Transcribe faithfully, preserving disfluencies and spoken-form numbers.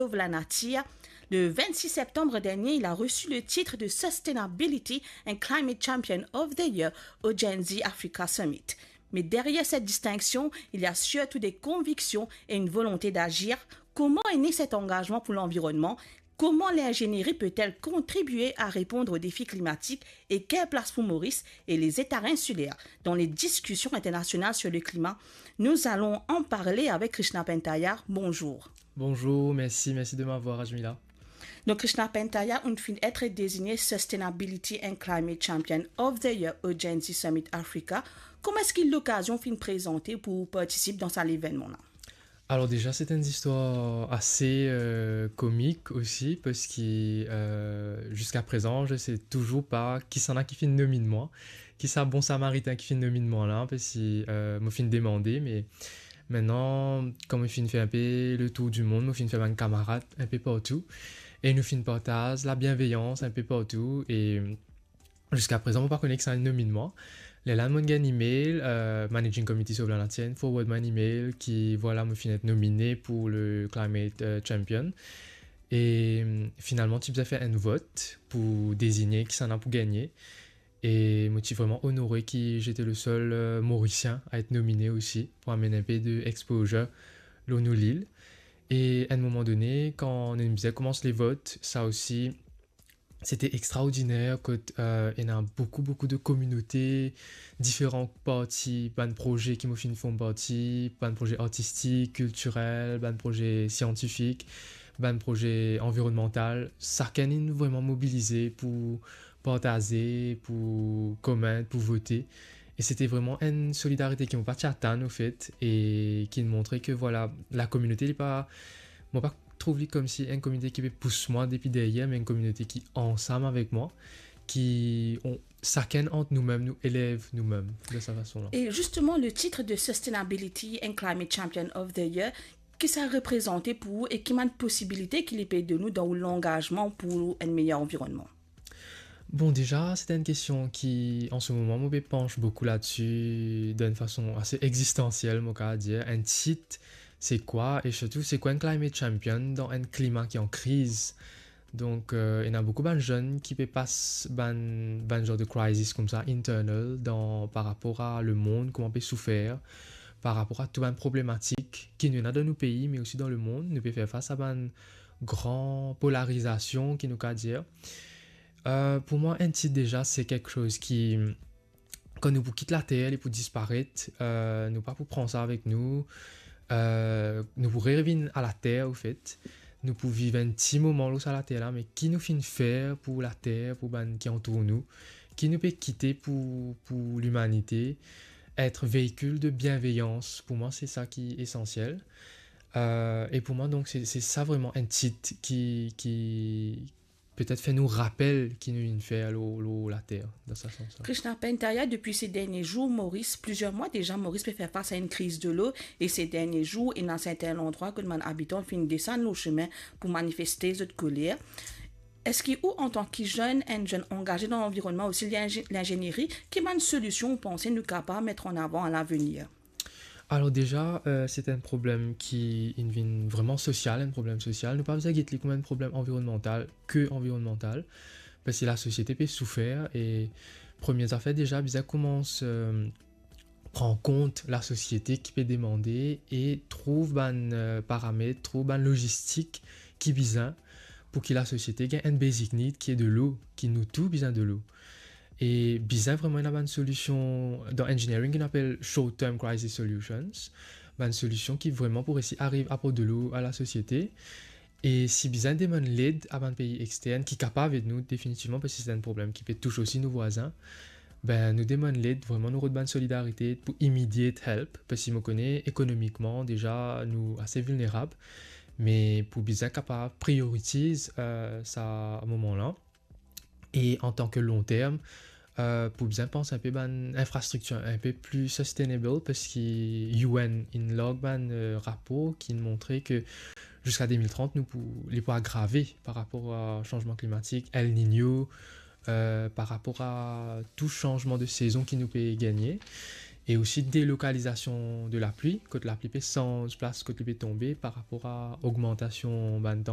Sauve la Nature, le vingt-six septembre dernier, il a reçu le titre de Sustainability and Climate Champion of the Year au Gen Z Africa Summit. Mais derrière cette distinction, il y a surtout des convictions et une volonté d'agir. Comment est né cet engagement pour l'environnement ? Comment l'ingénierie peut-elle contribuer à répondre aux défis climatiques et quelle place pour Maurice et les États insulaires dans les discussions internationales sur le climat ? Nous allons en parler avec Krishna Pantaya. Bonjour. Bonjour, merci, merci de m'avoir, Ajmila. Donc, Krishna Pantaya, ou finn et dezigne Sustainability and Climate Champion of the Year au Gen Z Summit Africa. Kouma eski lokazion finn prezante pou partisip dan sa levenman la? Alors déjà, c'est une histoire assez euh, comique aussi, parce que euh, jusqu'à présent, je sais toujours pas kisannla ki finn nominn mwa, ki sa bon samaritin ki finn nominn mwa la, parce que euh, mo finn demande, mais maintenant, kan mo finn fer inpe le tour du monde, mo finn fer bann kamarad inpe partou, e nou finn partaz labienveyans inpe partou, e ziska prezan, mo pa kone kisannla nominn mwa. Lerla mo gagn email, euh, Managing Committee Sauve la Nature forward mwa enn email ki, vwala, mo finn et nomine pou le Climate euh, Champion. E euh, finalman, ti bizin fer enn vot pou dezigne kisannla pou gagne. E mo ti vreman onore ki j'étais le seul euh, Morisien à être nominé aussi, pou amenn inpe de exposure lor nou lil. E à un moment donné, kan nou bizin koumans le vot, sa osi, c'était extraordinaire, kot euh, ena boukou, boukou de kominote, diferan parti, bann proze ki mo finn form parti, bann proze artistik, kiltirel, bann proze siantifik, bann proze anvironmantal. Sakenn inn vreman mobilize pou partaze, pou komant, pou vote. E c'était vraiment enn solidarite ki mo pa ti atann, anfet, e ki montre ke, vwala, lakominote, li pa, mo pa trouv li koumsi enn kominote ki pe pous mwa depi deryer, me enn kominote ki ansam avek mwa, ki, on, sakenn ant noumem, nou elev noumem de sa fason la. Et justement, le titre de Sustainability and Climate Champion of the Year, ki sa reprezante pou ou e ki bann posibilite ki li pe donn ou dan ou langazman pou enn meyer anvironnman? Bon, déjà, c'est une question qui, en ce moment, mo pe panch boukou ladsi, d'une façon assez existentielle, mo kav dir. Enn tit, se kwa? E sirtou, se kwa enn climate champion dan enn klima ki an kriz? Donk, euh, ena boukou bann zenn ki pe pas bann, bann zar de crisis koumsa, internal, dan, par rapor a lemond, kouma pe soufer, par rapor a tou bann problematik ki nou ena dan nou pei, me osi dan lemond. Nou pe fer fas a bann gran polarizasion, ki nou kav dir. Euh, pou mwa, enn tit, déjà, se kiksoz ki, kan nou pou kit Later, li pou disparet, euh, nou pa pou pran sa avek nou, euh, nou pou revinn a Later, anfet. Nou pou viv enn ti moman lor sa Later la, me ki nou finn fer pou Later, pou bann ki antour nou, ki nou pe kite pou, pou limanite, et veikil de bienveyans, pou mwa, se sa ki esansiel. Euh, e pou mwa, donk, se, se sa vreman enn tit ki, ki, petet fer nou rapel ki nou inn fer lor, lor Later, dan sa sans la. Krishna Pantaya, depuis ces derniers jours, Maurice, plusieurs mois déjà, Maurice pe fer fas a enn kriz delo, e ces derniers jours, ena sertin landrwa kot bann abitan finn desann lor sime pou manifeste zot koler. Eski ou, antan ki zenn, enn zenn angaze dan lanvironnman, osi linze-, lingenieri, ki bann solision ou panse nou kapav met an avan a lavenir? Alors déjà, euh, c'est un problème qui inn vinn vreman sosial, enn problem sosial. Nou pa bizin get li kouma enn problem anvironmantal, ke anvironmantal, parski lasosiete pe soufer, e premie zafer, déjà, bizin koumans, euh, pran kont lasosiete ki pe demande e trouv bann, euh, paramet, trouv bann lozistik ki bizin pou ki lasosiete gagn enn basic need ki delo, ki nou tou bizin delo. E bizin vreman ena bann solision, dan engineering, ki nou apel short term crisis solutions, bann solision ki vreman pou resi ariv aport delo a lasosiete. E si bizin demann led a bann pei extern ki kapav ed nou definitivman, parski se enn problem ki pe tous osi nou vwazin, ben, nou demann led, vreman nou rod bann solidarite pou immediate help, parski mo kone ekonomikman, déjà, nou ase vilnerab, me pou bizin kapav prioritiz, euh, sa moman la. E antan ke long term, euh, pou bizin pans inpe bann infrastriktir inpe pli sustainable, parski U N inn larg bann, euh, rapor ki montre ke ziska de mil trant, nou pou, li pou agrave par rapor a sanzman klimatik, El Niño, euh, par rapor a tou sanzman de sezon ki nou pe gagne, e osi delokalizasion de lapli, kot lapli pe sanz plas kot li pe tonbe, par rapor a ogmantasion bann tanp-